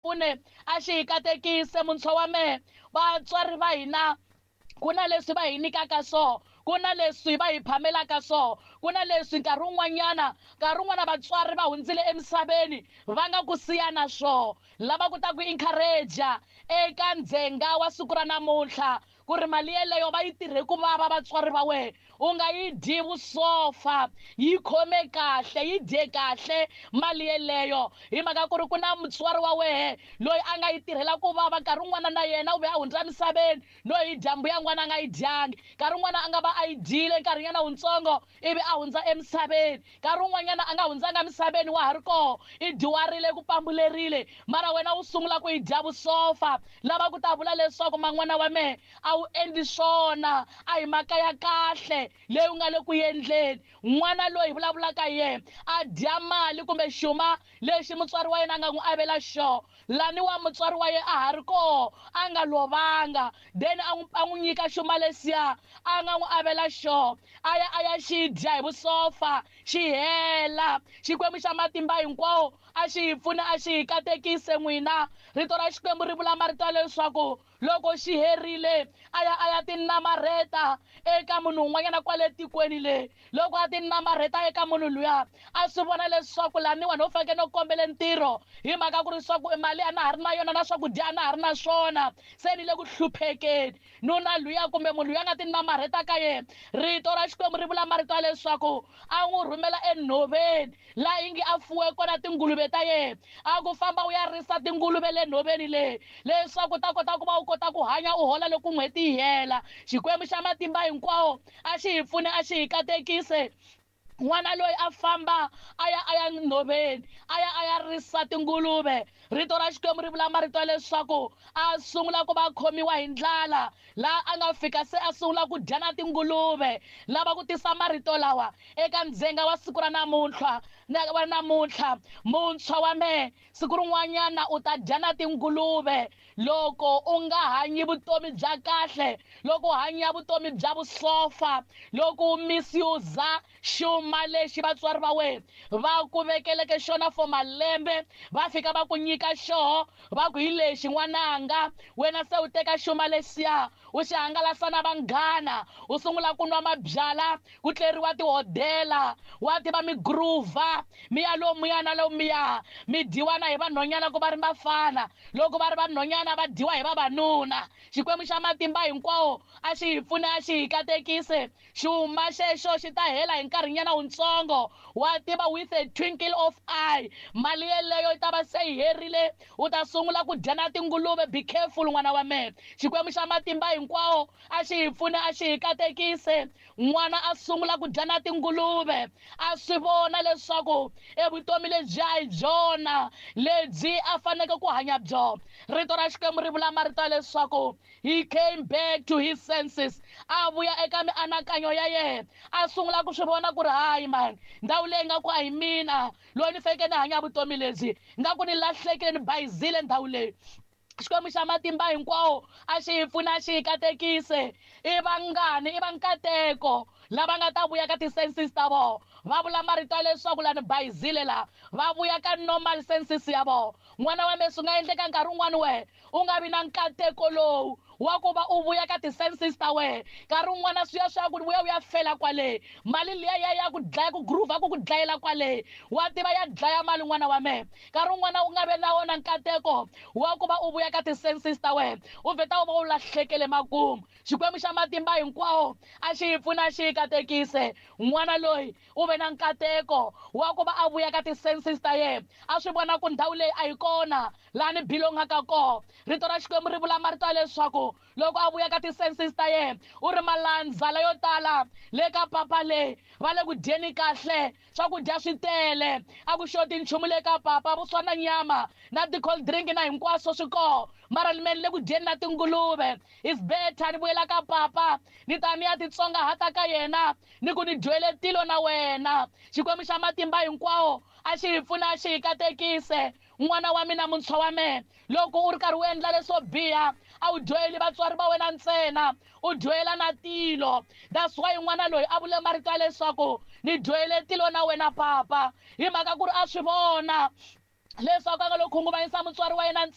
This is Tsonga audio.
Pfune a xi hi katekise muntshwa wa mehe. Vatswari va hina ku na leswi va hi nyikaka swona, ku na leswi va hi phamelaka swona, ku na leswi nkarhi wun'wanyana, nkarhi wun'wana vatswari va hundzile emisaveni va nga ku siya na swona. Lava ku ta ku encourage eka ndzhenga wa siku ra namuntlha ku ri mali yeleyo va yi tirhe ku vava vatswari va wena, u nga yi dyi vusofa, yi khome kahle, yi dye kahle mali yeleyo, hi mhaka ku ri ku na mutswari wa wehe loyi a nga yi tirhela ku vava. Nkarhi wun'wana na yena u ve a hundza emisaveni no yi dya mbuya n'wana a nga yi dyangi, nkarhi wun'wana a nga va a yi dyile nkarhinyana wutsongo ivi a hundza emisaveni, nkarhi wun'wanyana a nga hundzanga emisaveni wa ha ri koho, i dyuharile ku pambulerile, mara wena u sungula ku yi dya vusofa. Lava ku ta vula leswaku man'wana wa mehe a wu endli swona, a hi mhaka ya kahle leyi u nga le ku endleni. N'wana loyi hi vulavulaka hi yena a dya mali kumbe xuma lexi mutswari wa yena a nga n'wi avela xona, lani wa mutswari wa yena a ha ri koho a nga lovanga, then a n'wi a n'wi nyika xuma lexiya a nga n'wi avela xona, a ya a ya xi dya hi vusofa xi hela. Xikwembu xa matimba hinkwawo a xi hi pfune, a xi hi katekise n'wina. Rito ra Xikwembu ri vula marito ya leswaku loko xi herile a ya a ya tinamarheta eka munhu un'wanyana kwale tikweni le. Loko a tinamarheta eka munhu luya, a swi vona leswaku laniwa no fanekele no kombele ntirho, hi mhaka ku ri swa ku mali a na ha ri na yona na swakudya a na ha ri na swona, se ni le ku hluphekeni. Nuna luya kumbe munhu luya nga tinamarheta ka yena, rito ra Xikwembu ri vula marito ya leswaku a n'wi rhumela enhoveni laha ingi a fuwe kona tinguluve ta yena, a ku famba u ya risa tinguluve le nhoveni leyi leswaku u ta kota ku va u kota ku hanya u hola loko n'hweti yi hela. Xikwembu xa matimba hinkwawo a xi hi pfune, a xi hi katekise. N'wana loyi a famba a ya a ya nhoveni a ya a ya risa tinguluve. Rito ra Xikwembu ri vula marito ya leswaku a sungula ku va khomiwa hi ndlala, laha a nga fika se a sungula ku dya na tinguluve. Lava ku tisa marito lawa eka ndzhenga wa siku ra namuntlha, wa namuntlha, muntshwa wa mehe, siku rin'wanyana u ta dya na tinguluve loko u nga hanyi vutomi bya kahle, loko u hanya vutomi bya vusofa, loko u misuse xuma lexi vatswari va wena va ku vekeleke xona for malembe, va fika va ku nyika xoho, va ku hi lexi n'wananga, wena se u teka xuma lexiya u xi hangalasa na vanghana, u sungula ku nwa mabyala, ku tleriwa tihodela, wa tiva mi groova, mi ya lomuya na lomuya, mi dyiwa na hi vanhwanyana ku va ri vafana, loko va ri vanhwanyana va dyiwa hi vavanuna. Xikwembu xa matimba hinkwawo a xi hi pfune, a xi hi katekise. Xuma xexo xi ta hela hi nkarhinyana wutsongo, wa tiva, with a twinkle of eye, mali yeleyo yi ta va se yi herile, u ta sungula ku dya na tinguluve. Be careful n'wana wa mehe. Xikwembu xa matimba hinkwawo a xi hi pfune, a xi hi katekise. N'wana a sungula ku dya na tinguluve, a swi vona leswaku evutomi lebyi a hi byona lebyi a faneleke ku hanya byona. Rito ra Xikwembu ri vula marito ya leswaku he came back to his senses, a vuya eka mianakanyo ya yena, a sungula ku swi vona ku ri hayi man, ndhawu leyi nga ku a hi mina loyi ni fanekele ni hanya vutomi lebyi, nga ku ni lahlekile, ni bayizile ndhawu leyi. Xikwembu xa matimba hinkwawo a xi hi pfune, a xi hi katekise. I vangani, i va nkateko lava nga ta vuya ka ti-senses ta vona, va vula marito ya leswaku la ni bayizile, la va vuya ka normal senses ya vona. N'wana wa mehe, swi nga endleka nkarhi wun'wani wehe u nga vi na nkateko lowu wa ku va u vuya ka ti-senses ta wena. Nkarhi wun'wana swi ya swi ya ku vuya u ya fela kwale, mali liya ya ya ku dlaya, ku groova ku ku dlayela kwale, wa tiva ya dlaya mali n'wana wa mehe. Nkarhi wun'wana u nga vi na wona nkateko wa ku va u vuya ka ti-senses ta wena, u vheta u va u lahlekele makumu. Xikwembu xa matimba hinkwawo a xi hi pfune, a xi hi katekise. N'wana loyi u ve na nkateko wa ku va a vuya ka ti-senses ta yena, a swi vona ku ndhawu leyi a yi kona laha ni belongaka kona. Rito ra Xikwembu ri vula marito ya leswaku loko a vuya ka ti-senses ta yena, u ri malandza layo tala le ka papa le va le ku dyeni kahle, swakudya swi tele, a ku xoti nchumu le ka papa, vuswa na nyama na ti-cold drink na hinkwaswo swi koho, mara ni me ni le ku dyeni na tinguluve. It's better ni vuyela ka papa, ni ta ni ya titsongahata ka yena, ni ku ni dyohele tilo na wena. Xikwembu xa matimba hinkwawo a xi hi pfune, a xi hi katekise. N'wana wa mina, muntshwa wa mehe, loko u ri karhi u endla leswo biha, a wu dyoheli vatswari va wena ntsena, u dyohela na tilo. That's why n'wana loyi a vule marito ya leswaku ni dyohele tilo na wena papa, hi mhaka ku ri a swi vona Leswaku a nga lo khunguvanyisa mutswari wa yena ntsena.